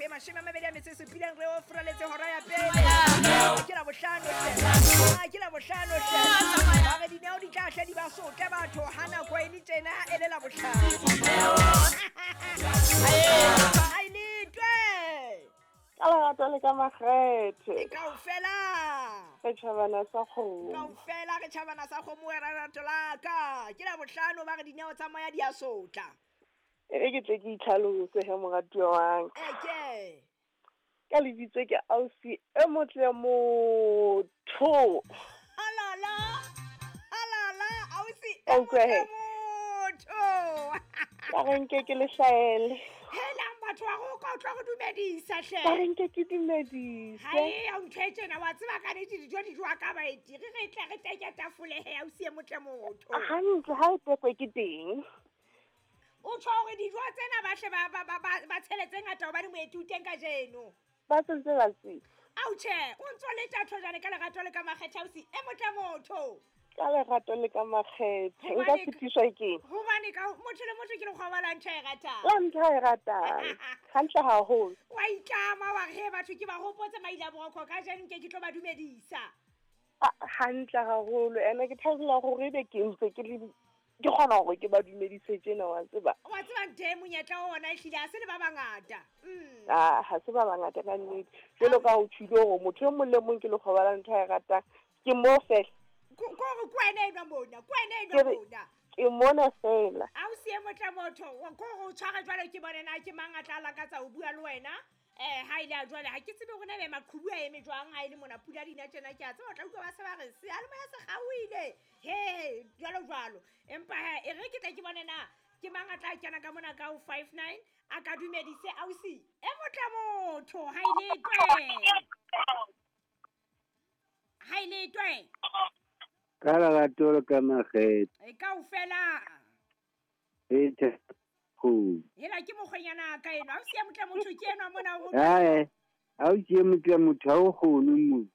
ho e 27 re o furaletse hora ya pele. Ke la bohlano hle. Ke la bohlano hle. Ba re dineo di tla hle di ba sotle batho ha nako e le tjena e le la bohlano. Ha e letwe. Ka lerato le ka makgethe. Kaofela. Re tjhabana sa kgomo. Kaofela re tjhabana sa kgomo wa lerato la ka. Ke la bohlano ba re dineo tsa moya di a sotla. E re ke tle ke itlhalose he moratuwa wa ka. Eke. Ka lebitso ke ausi e motle motho. Alala. Alala ausi e Ka utlwa motle he. motho. Ka re nke ke le hlaele. Helang batho wa go ka utlwa go dumedisa hle. Ka re nke ke dumedise. Ha e ya ntho e tjena wa tseba ka nnete dijo di jowa ka baeti. Re re tle re teke tafole he ausi e motle motho. Hantle ha e tekwe ke teng. O tjho hore dijo tsena ba hle ba tshele tse ngata hobane moeti o teng kajeno. Ba sentse ba tseba. Ao tjhe, o ntso le tatho jwale ka lerato le ka makgethe ausi e motle motho. Ka lerato le ka makgethe. Nka fetiswa ke eng? Hobane ka motho le motho ke lekgoba la ntho e ratang. La ntho e ratang. Hantle haholo. Wa itlama wa re he batho ke ba hopotse maile a borokgo kajeno nke ke tlo ba dumedisa. Hantle haholo. Ene ke thabela hore ebe ke ntse ke le ke kgona hore ke ba dumedise tjena wa tseba. Wa tseba ntho e monyetla wa ona ehlile ha se le ba bangata. Ah, ha se ba bangata ka nnete. Jwalo ka ho tjhile hore motho e mong le mong ke lekgoba la ntho a e ratang. Ke mo fela. Ko hore ke wena enwa mona, ke wena enwa mona. Ke mona fela. Ausi e motle motho, ko hore o tshware jwalo ke bone na ke mang a tla lakatsa ho bua le wena. Ha ile a jwale ha ke tsebe hore na ebe maqhubu a eme jwang ha ile mona pula dina tjena ke a tseba o tla utlwa ba se ba re seyalemoya se kgaohile. He, jwalo jwalo. Empa he, e re ke tle ke bone na ke mang a tla kena ka mona ka ho 59 a ka dumedise ausi e motle motho ha ile twe. Ha ile twe. Ka lerato le ka makgethe. E kaofela. E tjhe. Hela ke mokgwenyana ka eno. Ausi e motle motho ke enwa mona o. Hae. Ausi e motle motho ha o kgone mo.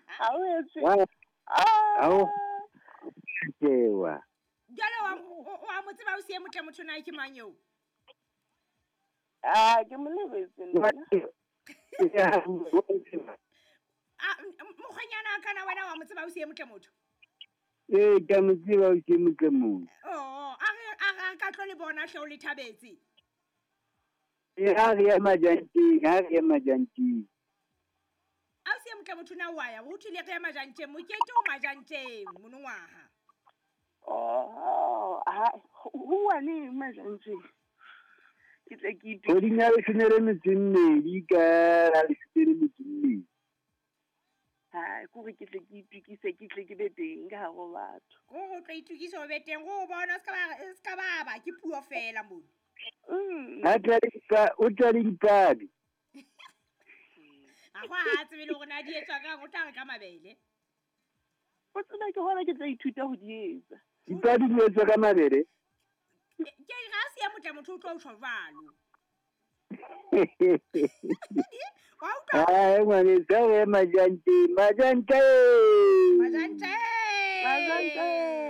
Ha o etse. Ha o tsewa. Jwale wa mo tseba ausi e motle motho na ke mang eo? Ah, ke mo lebetse nna. Ah, mokgwenyana kana wena wa mo tseba ausi e motle motho? Ee, ka mo tseba ausi e motle motho. Oh, a ka tlo le bona hle o le thabetse. Ee, ha re ya majanteng, ha re ya majanteng. Ausi e motle motho na wa ya, ho thule re ya majanteng, mokete o majanteng monongwaha. Oh, ha ho wa neng majanteng? Ke tle ke itse. Kgweding ya 12 ka la 12. Ha, ke hore ke tle ke itukise, ke tle ke be teng ka hare ho batho. Ko ho tlo itukisa o be teng, go bona se ka ba ke puo fela mono. Ha tla o tla le dipabi. A go ha tsebe le hore na di etswa kang, o tla re ka mabele. O tseba ke hona ke tla ithuta ho di etsa. Dipabi di etswa ka mabele? Ke ga se ya motle motho o tlo tjho jwalo. Wa utlwa? Hae, ngwaneso, ha re majanteng, majanteng. Majanteng. Majanteng.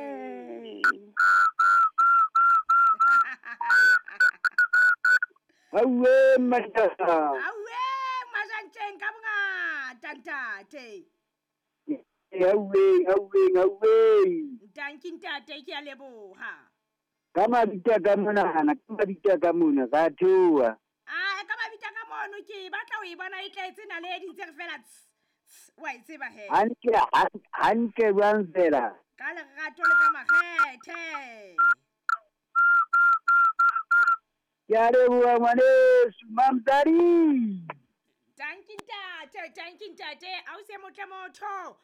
Auwe, majanteng. Auwe, majanteng ka bongata, ntate. Auwe, auwe, auwe. Ntanki ntate, ke a leboha. Ka mabitso ka mona, ka mabitso ka mona, ka theoha. Ah, ka mabitso ka mono ke batla ho e bona e tletse naledi ntse re fela wa e tseba he. Hantle, hantle jwang fela. Ka lerato le ka makgethe. Ke a leboha ngwaneso, Mamtsadi. Tanki ntate, tanki ntate, ausi e motle motho.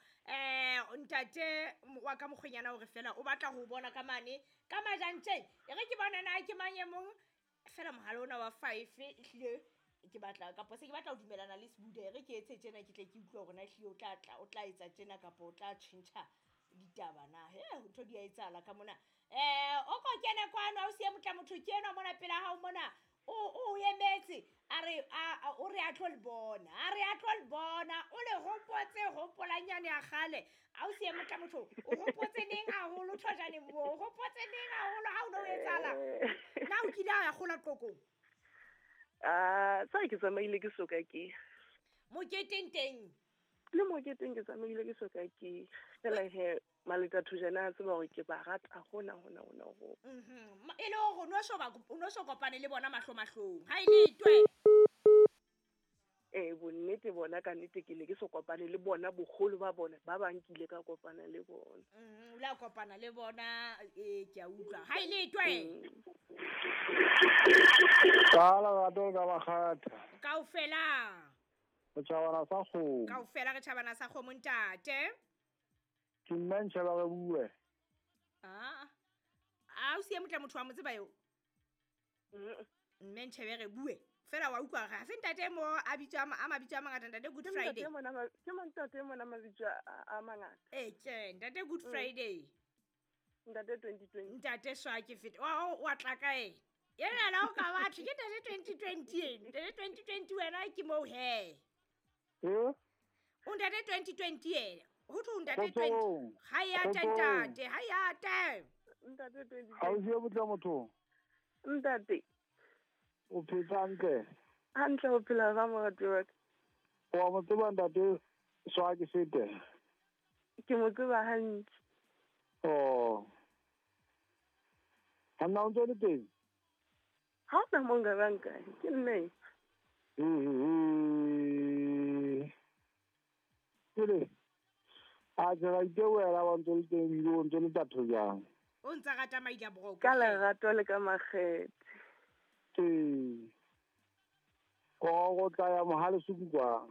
Ntate wa ka mokgwenyana hore fela o batla ho bona ka mane ka majanteng. E re ke bona na ke mang e mong fela mohala ona wa 5 ehlile ke batla kapo se ke batla ho dumelana le Sebuda. E re ke etse tjena ke tle ke utlwe hore na ehlile o tla tla o tla etsa tjena kapo o tla tjhentjha ditaba na. He, ntho di a etsahala ka mona. O ko kene kwano ausi e motle motho ke enwa mona pela hao mona. O emetse a re o re a tlo le bona, a re a tlo le bona, o le hopotse hopolanyane ya kgale. Ausi e motle motho o hopotse neng haholo thojane mo, o hopotse neng haholo ha o no etsahala. Na o kile a ya kgola Qokong? A sa ke tsamaile ke soka ke. Moketeng teng. Le moketeng ke tsamaile ke soka ke. Fela he maleta thojana a tseba hore ke ba rata hona hona hona ho. E le hore o no so kopane le bona mahlo mahlong. Ha e le twe. Bonnete bona ka nnete ke ne ke so kopane le bona boholo ba bona ba bang ke ile ka kopana le bona. O la kopana le bona ke a utlwa. Ha e le twe. Ka la rato ka bakgatha. Kaofela. Re tjhabana sa kgomo. Kaofela re tjhabana sa kgomo ntate. Ke nna ntjhaba re bue. A o siye motla motho wa mo tseba eo. Mme ntjhebe re bue. Fela wa utlwa ga se ntate mo a bitswa a mabitso a mangata ntate Good Friday. Ke ntate mona mabitso a mangata. Ke ntate Good Friday. Ntate 2020. Ntate swa ke fete. Wa tla kae? Yena la o ka batho ke ntate 2020. Ntate 2020 wena ke mo he. O ntate 2020 ena. Ho thwe ntate 20. Ha ya ntate, ha ya te. Ntate 20. Ha o je botla motho. Ntate. O phetse hantle. Hantle ho phela ba morati wa ka. Wa mo tseba ntate swa ke fete. Ke mo tseba hantle. Oh. Ha nna o ntse le teng? Ha o na mo nka banka, ke nne. Pele. A ke ra itewela wa ntse le teng ebile o ntse le tatho jang. O ntsa rata maila broko. Ka lerato le ka makgethe. Ke go tla ya mohale suku kwa.